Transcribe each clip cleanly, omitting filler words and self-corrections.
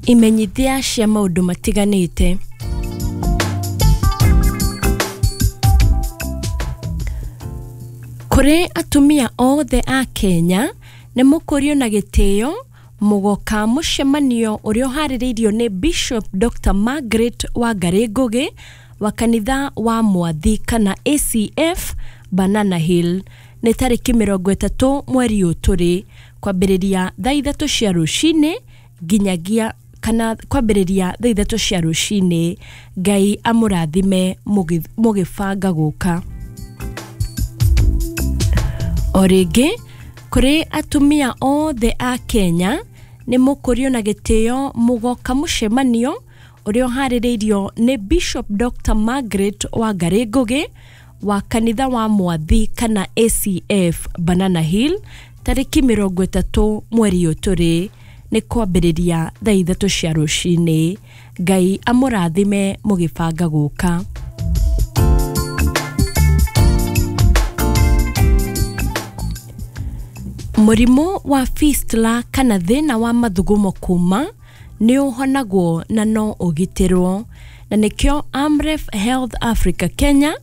Imenyithia cia maũndũ matiganĩte. Kũrĩ atumia othe a Kenya nĩ mũkũrio na gĩtĩo mũgoka mũcemanio ũrĩa ũharĩrĩirio nĩ Bishop Dr. Margaret Wangari Ngugi wa kanitha wa Mwathi kana ACF Banana Hill nĩ tarĩki 30 mweri ũyũ tũrĩ, kwambĩrĩria thaa 3 cia rũcinĩ nginyagia kana kwambĩrĩria thaa 3 cia rũcinĩ. Ngai amũrathime mũgĩbanga gũka. O rĩngĩ kũrĩ atumia othe a Kenya nĩ mũkũrio na gĩtĩo mũgoka mũcemanio ũrĩa ũharĩrĩirio nĩ Bishop Dr. Margaret Wangari Ngugi wa kanitha wa Mwathi kana ACF Banana Hill tarĩki 30 mweri ũyũ tũrĩ, nĩ kwambĩrĩria thaa 3 cia rũcinĩ. Ngai amũrathime mũgĩbanga gũka. Mũrimũ wa fistula kana thĩna wa mathugumo kuma nĩ ũhonagwo na no ũgitĩrwo, na nĩkĩo Amref Health Africa Kenya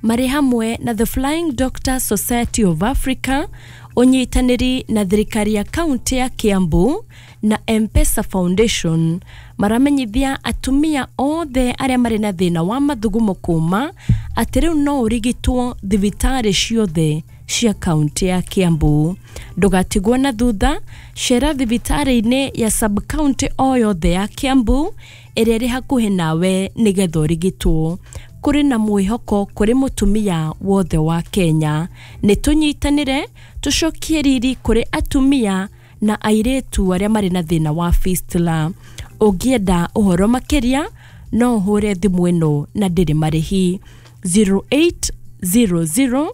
marĩ hamwe na The Flying Doctor Society of Africa ũnyitanĩri na thirikari ya kaunti ya Kiambu na M-Pesa Foundation maramenyithia atumia othe arĩa marĩ na thĩna wa mathugumo kuma atĩ rĩu no ũrigitwo thibitarĩ ciothe cia kaunti ya Kiambu. Ndũgatigwo na thutha, cera thibitarĩ-inĩ ya sub county o yothe ya Kiambu ĩrĩa ĩrĩ hakuhĩ nawe nĩgetha ũrigitwo. Kũrĩ na mwĩhoko kũrĩ mũtumia wothe wa Kenya. Nĩ tũnyitanĩre tũcokie riri kũrĩ atumia na airĩtu arĩa marĩ na thĩna wa fistula. Ũngĩenda ũhoro makĩria no ũhũre thimũ ĩno na ndĩrĩ marĩhi 0800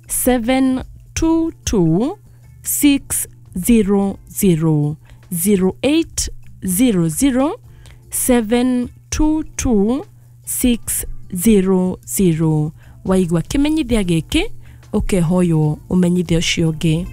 722 600, 0800 722 600. Waigua kĩmenyithia gĩkĩ ũkehoywo ũmenyithie ũcio ũngĩ.